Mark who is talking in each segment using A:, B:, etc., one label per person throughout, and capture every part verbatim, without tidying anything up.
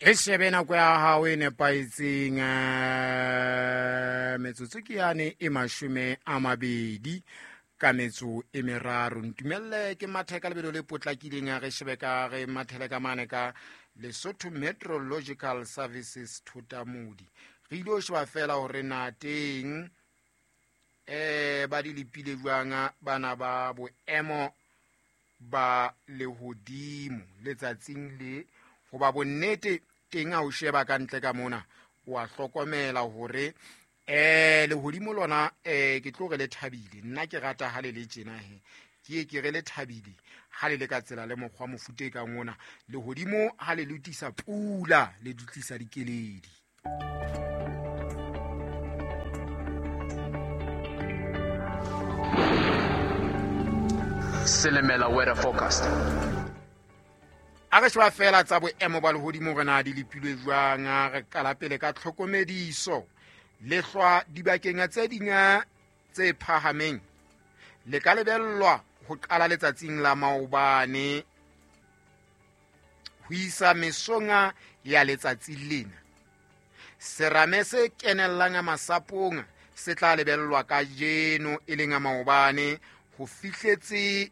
A: E shebe nako ya hao e nepahetseng, metsotso ke yane e mashome a mabedi ka metso e meraro. Ntumelle ke mathe ka lebelo le potlakileng, a re shebe ka re mathele ka mane ka Lesotho Meteorological Services Thotamodi. Re ile ho sheba fela hore na teng eh ba di lepile jwang bana ba boemo ba lehodimo letsatsing le, hoba bonnete teng ha o sheba ka ntle ka mona wa hlokomela hore eh lehodimo lona eh ke tlo re le thabile. Nna ke rata ha le le tjena he, ke ke re le thabile ha le le ka tsela le mokgwa mofuta e kang ona. Lehodimo ha le lutisa pula le dutlisa dikeledi.
B: Silimela weather forecast.
A: A re sheba fela tsa boemo ba lehodimo re na di lepilwe jwang. Re qala pele ka tlhokomediso. Lehlwa dibakeng tse ding tse phahameng le ka lebellwa ho qala letsatsing la maobane ho isa mesong ya letsatsi lena. Serame se kenellang masapong se tla lebellwa kajeno e leng maobane ho fihletse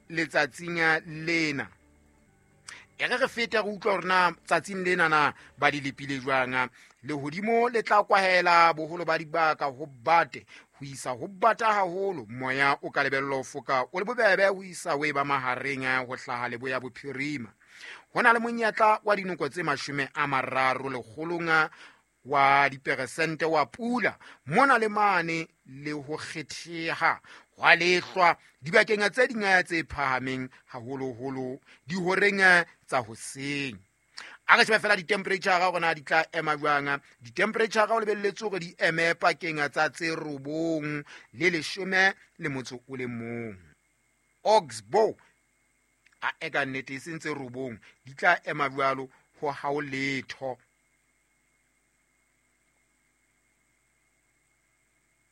A: letsatsing lena. E re re fete re utlwa hore na tsatsing lena na ba di lepile jwang. Lehodimo le tla kwahela boholo ba dibaka ho bate ho isa ho bata haholo. Moya o ka lebellwa ho foka o le bobebe ho isa ho eba mahareng ho hlaha leboya bophirima. Ho na le monyetla wa dinoko tse mashome a mararo lekgolong wa diperesente wa pula mona le mane le ho kgetheha hwa lehlwa dibakeng tse ding tse phahameng haholoholo dihoreng tsa hoseng. A re shebe fela di-temperature hore na di tla ema jwang. Di-temperature o lebelletse hore di eme pakeng tsa tse robong le leshome le motso o le mong. Oxbow a eka nnete e seng tse robong di tla ema jwalo ho hao letho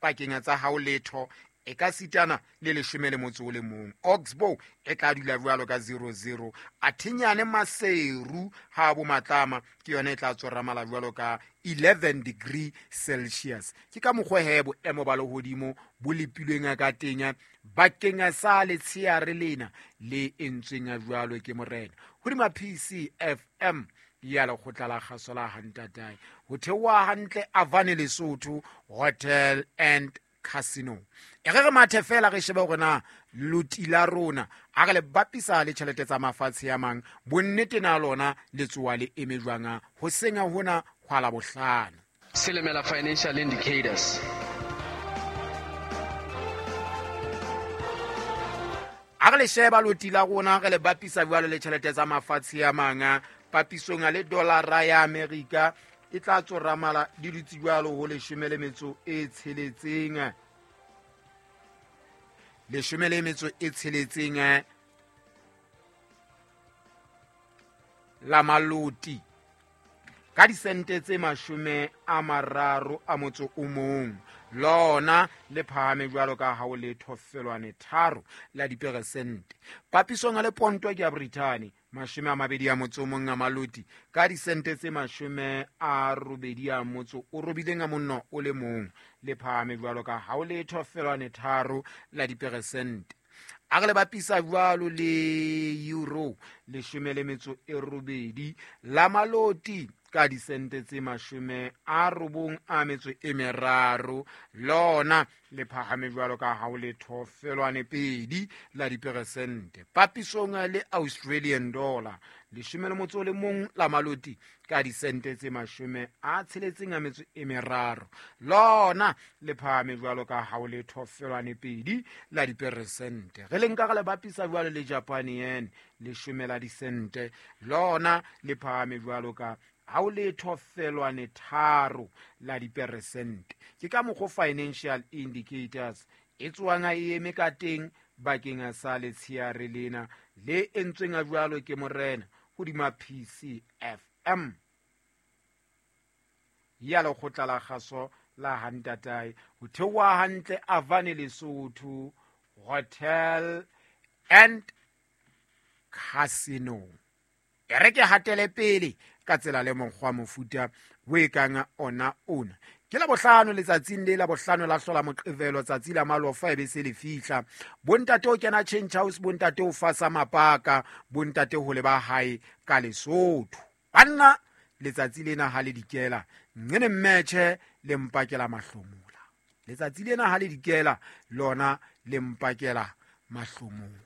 A: pakeng tsa hao letho e ka sitana le leshome le motso o le mong. Oxbow e tla dula jwalo ka zero zero. Athinyane Maseru ha bo matlama ke yona e tla tsoramala jwalo ka eleven degree Celsius. Ke ka mokgwa he boemo ba lehodimo bo lepilweng ka teng bakeng sa letsheare lena le entsweng jwalo ke morena. Hodima P C F M ya lekgotla la kgaso la Hantatae ho theoha hantle Avane Lesotho Hotel and Casino. E re re mathe fela re shebe hore na loti la rona a re le bapisa le tjhelete tsa mafatshe a mang, bonnete na lona le tsoa le eme jwang ho senya hona hwa la bohlano.
B: Silimela financial indicators.
A: A re le sheba loti la rona re le bapisa jwalo le tjhelete tsa mafatshe a mang, papisong le dollara ya Amerika e tla tsoramala di dutse jwalo ho leshome le metso e tsheletseng. Leshome le metso e tsheletseng la maloti ka disente tse mashome a mararo a motso o mong. Lona le phahame jwalo ka ha o le thofelwane tharo la diperesente. Papisong le ponto ke ya Britain mashome a mabedi a motso o mong a maloti ka disente tse mashome a robedi a motso o robileng a monno o le mong, le phahame jwalo ka ha o le thofelwane tharo la diperesente. A re le bapisa jwalo le euro leshome le metso e robedi la maloti ka disente tse mashome a robong a metso e meraro, lona le phahame jwalo ka ha o le thofelwane pedi la diperesente. Papisong le Australian dollar leshome le motso o le mong la maloti ka disente tse mashome a tsheletseng a metso e meraro, lona le phahame jwalo ka ha o le thofelwane pedi la diperesente. Re le nka re le bapisa jwalo le Japan yen leshome la disente, lona le phahame jwalo ka ha o le thofelwane tharo la diperesente. Ke ka mokgwa financial indicators e tswang e eme ka teng bakeng sa letsheare lena le entsweng jwalo ke morena hodima P C F M ya lekgotla la kgaso la Hantatae ho theoha hantle Avane Lesotho Hotel and Casino. E re ke hatele pele ka tsela le mokgwa mofuta o e kang ona ona. Ke la bohlano letsatsing le la bohlano la hlola Moqebelo, tsatsi la malofa e be se le fihla. Bontate o kena change house, bontate o fasa mapaka, bontate ho leba hae ka Lesotho. Banna letsatsi lena ha le dikela nqene mmetjhe le mpakela mahlomola. Letsatsi lena ha le dikela lona le mpakela mahlomola.